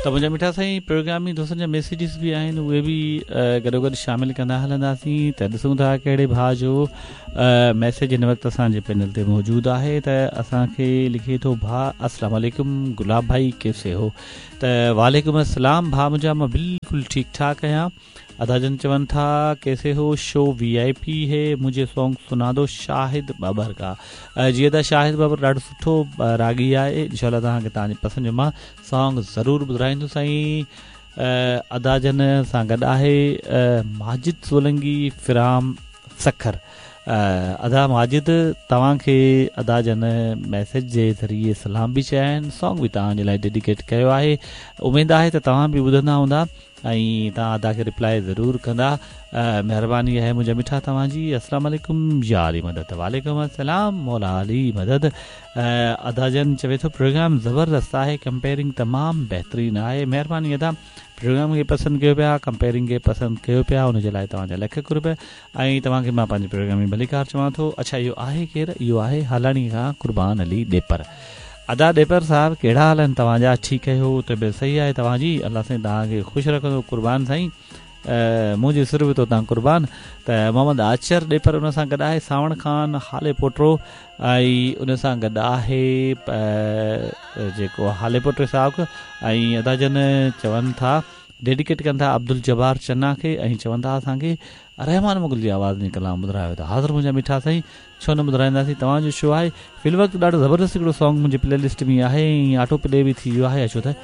ته منهنجا مٺا سائين پروگرام ۾ دوستن جا ميسيجز به آهن اهي به گڏوگڏ شامل ڪندا هلنداسين ته ڏسون ٿا ڪهڙي ڀاء جو ميسيج هن وقت اسان جي پينل تي موجود آهي ته اسان کي لکي ٿو ڀاء السلام عليڪم گلاب ڀائي ڪيسي هو ته وعليڪم السلام ڀاء منهنجا مان بلڪل ٺيڪ ٺاڪ آهيان ادا جن چون ٿا ڪيسي هو شو وي آئي پي هي مجهي سونگ سنا دو شاهد بابر ڪا جي ادا شاهد بابر ڏاڍو سٺو راڳي آهي انشاء الله توهان کي توهان جي پسند جو مان سانگ ضرور ٻڌرائيندس سائين ادا جن سان گڏ آهي ماجد سولنگي فرام سکر ادا ماجد توهان کي ادا جن ميسيج جي ذريعي سلام به چيا آهن سانگ به توهان جي لاء ڊيڊيڪيٽ ڪيو آهي اميد آهي ته توهان به ٻڌندا هوندا ۽ توهان ادا کي ريپلائي ضرور ڪندا مهرباني آهي منهنجا مٺا توهان جي السلام عليڪم يا علي مدد وعليڪم السلام مولا علي مدد ادا جن چوي ٿو پروگرام زبردست آهي ڪمپيئرنگ تمام بهترين آهي مهرباني ادا پروگرام کي پسند ڪيو پيا ڪمپيئرنگ کي پسند ڪيو پيا ان جي لاء توهان جا لک قرب ۽ توهان کي مان پنهنجي پروگرام ۾ ڀليڪار چوان ٿو. اڇا اهو آهي ڪير؟ اهو آهي هالاڻي کان قربان علي ڏيپر. ادا ڏيپر صاحب ڪهڙا حال آهن توهان جا ٺيڪ آهيو طبيعت صحيح آهي توهان جي الله سائين توهان کي خوش رکندو قربان سائين منهنجي سر به تو تان قربان ته محمد آچر ڏيپر ان سان گڏ آهي ساوڻ خان هالي پوٽو ۽ ان سان گڏ آهي جيڪو هالي پوٽي صاحب ۽ ادا جن چون ٿا ڊيڊيڪيٽ ڪن ٿا عبدالجبار چنا کي ۽ چون ٿا اسان کي رحمان مغل جي آواز ۾ ڪلام ٻڌرايو ته حاضر منهنجا مٺا سائين ڇو نه ٻڌرائينداسين توهان جو شو آهي في الوقت ڏاڍو زبردست هڪڙو سانگ منهنجي پلي لسٽ ۾ آهي ۽ آٽو پلي به ٿي ويو آهي اچو ته.